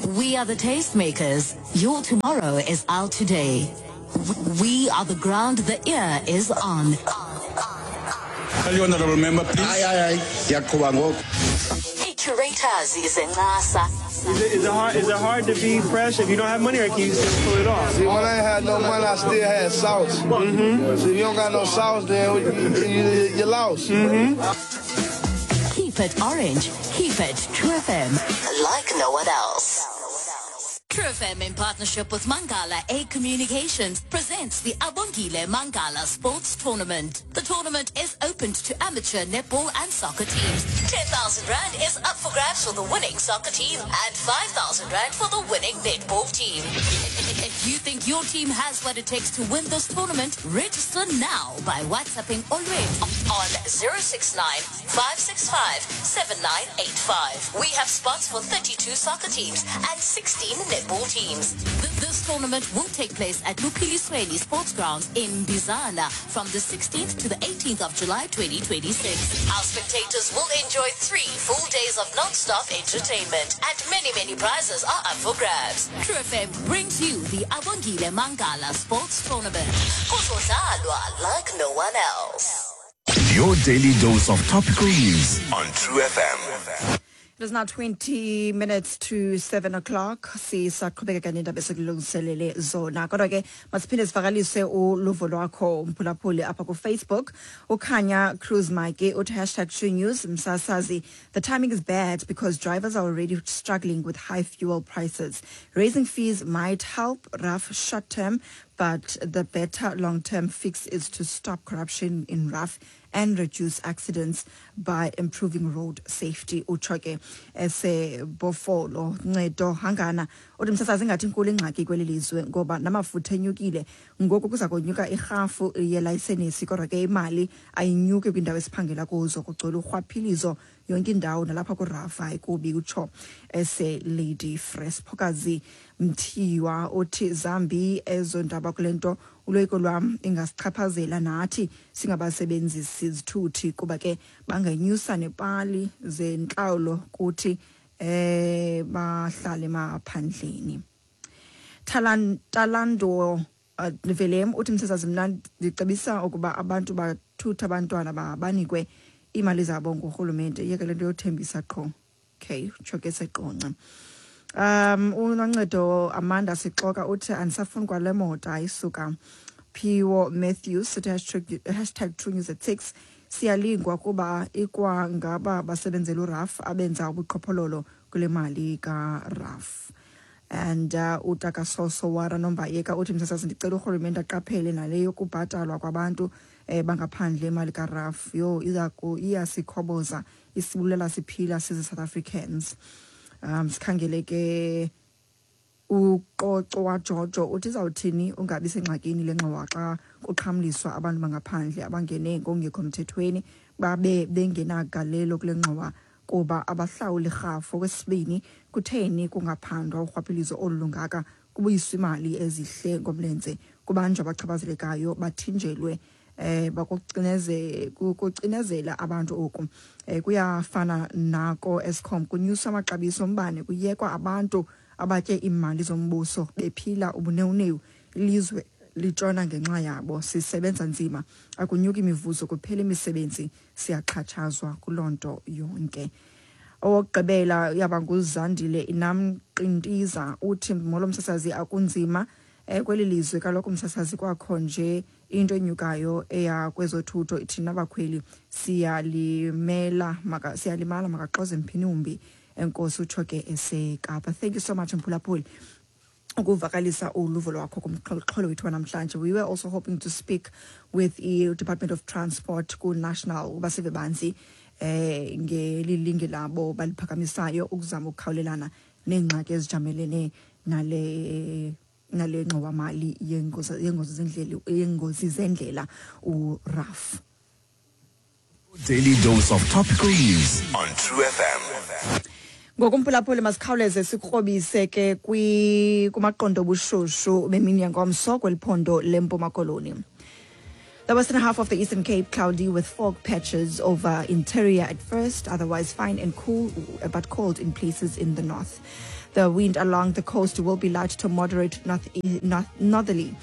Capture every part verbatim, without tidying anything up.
We are the tastemakers. Your tomorrow is our today. We are the ground the ear is on. Honorable member, please. Hayi, hayi, hayi, ndiyaqhuba ngoku. Curators izencasa. Is it, is it hard? Is it hard to be fresh if you don't have money, or can you just pull it off? See, when I ain't had no money, I still had sauce. Mm-hmm. See, if you don't got no sauce, then you, you, you lost. Mm-hmm. Keep it orange. Keep it True F M. Like no one else. True F M, in partnership with Mangala A Communications, presents the Abongile Mangala Sports Tournament. The tournament is open to amateur netball and soccer teams. ten thousand rand is up for grabs for the winning soccer team and five thousand rand for the winning netball team. If you think your team has what it takes to win this tournament, register now by WhatsApping Olwethu on zero six nine, five six five, seven nine eight five. We have spots for thirty-two soccer teams and sixteen netball teams. Th- This tournament will take place at Luphilisweni Sports Grounds in Bizana from the sixteenth to the eighteenth of July twenty twenty-six. Our spectators will enjoy three full days of non-stop entertainment, and many, many prizes are up for grabs. True F M brings you the Abongile Mangala Sports Tournament. Kuzodlalwa like no one else. Your daily dose of topical news on True F M. It is now twenty minutes to seven o'clock. Sisaqhubeka nendaba esikulungiselele zona. Kodwa ke masiphinde sivakalise uluvo lwakho, umphulaphuli, apha ku-Facebook. Ukhanya Cruz Mike uthi hashtag True News msasazi, the timing is bad because drivers are already struggling with high fuel prices. Raising fees might help R A F short term, but the better long-term fix is to stop corruption in R A F and reduce accidents by improving road safety. Utsho ke esebofolo. Ncedo Hangana uthi, msasazi, ingathi inkulu ingxaki kweli lizwe ngoba namafutha enyukile, ngoku kuza konyuka irhafu yelayisenisi, kodwa ke imali ayinyuki kwiindawo esiphangela kuzo, kugcwele urhwaphilizo yonke indawo nalapha ku-R A F ayikubi, utsho ese-Lady Frere. Phokazi Mthiwa uthi zambi ezo ndaba kule nto, uloyiko lwam ingasichaphazela nathi singabasebenzisi zithuthi kuba ke bangenyusa nepali zentlawulo kuthi eh bahlale emaphandleni. Talan Talando uh, Velem uthi, msasazi, mna ndicebisa ukuba abantu bathutha abantwana banikwe iimali zabo ngurhulumente, iyeke le nto yothembisa qho. Okay, utsho ke seqonce. um unoncedo Amanda Sixoka uthi andisafuni kwale moto, ayisuka. Phiwo Matthews uthi hashtag, hashtag True News at six, siyalingwa kuba ikwangaba basebenzela u-R A F abenza ubuqhophololo kule mali ka-R A F. And uh, utakasoso wara Nombayeka uthi, msasazi, ndicela urhulumente aqaphele nale yokubhatalwa kwabantu eh, bangaphandle imali ka-R A F, yho, iza iyasikhoboza, isibulela siphila sizi South Africans. um sikhangele ke uqoco wajojo uthi izawuthini ungabi sengxakini le ngxowa xa kuxhamliswa abantu bangaphandle abangene ngokungekho mthethweni babe bengenagalelo kule ngxowa kuba abahlawuli rhafu. Okwesibini, kutheni kungaphandwa urhwaphilizo olu lungaka, kubuyiswa imali ezihle ngomlenze, kubanjwa abachaphazelekayo, bathinjelwe eh bakucineze kucinezela abantu oku eh kuyafana nako Eskom, kunyusa amaxabiso ombane, kuyekwa abantu abatye imali zombuso bephila ubunewunewu, ilizwe litshona ngenxa yabo. Sisebenza nzima, akunyuki imivuzo, kuphela imisebenzi, siyaxhatshazwa kuloo nto yonke. Owokugqibela yaba nguZandile Inamqintiza uthi, molo msasazi, akunzima eh kweli lizwe kaloku msasazi, kwakho nje into enyukayo eya kwezothutho, thina abakhweli siyalimela maka siyalimala, makaxoze mphini umbi, enkosi. Utsho ke eseKapa. Thank you so much, mphulaphuli, ukuvakalisa uluvo lwakho kumxholo wethu wanamhlanje. We were also hoping to speak with the Department of Transport ku-national ukuba sive banzi eh ngelilinge labo baliphakamisayo ukuzama ukukhawulelana neengxaki ezijamelene nale nale ngxowamali yengozi yengozi zendlela yengozi zendlela u-R A F. Daily dose of topical news on True F M. Ngokumphulaphuli, masikhawuleze sikrobise ke kwi kumaqondo obushushu bemini yangomso kweli phondo leMpuma Koloni. The western half of the Eastern Cape, cloudy with fog patches over interior at first, otherwise fine and cool, but cold in places in the north. The wind along the coast will be light to moderate north, north northerly.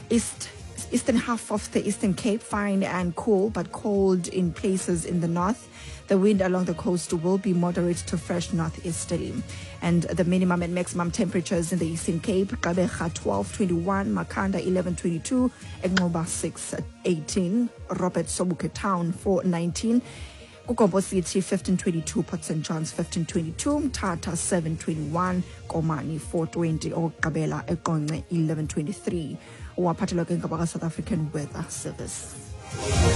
East eastern half of the Eastern Cape, fine and cool, but cold in places in the north. The wind along the coast will be moderate to fresh northeasterly. And the minimum and maximum temperatures in the Eastern Cape, Gqeberha twelve twenty-one, Makhanda eleven twenty-two, Engcobo six eighteen, Robert Sobukwe Town four nineteen, KuGompo City fifteen twenty-two, Port Saint John's fifteen twenty-two, Mthatha seven twenty-one, Komani four twenty, okokugqibela eQonce eleven twenty-three. Waphathelwa ke ngabaka South African Weather Service.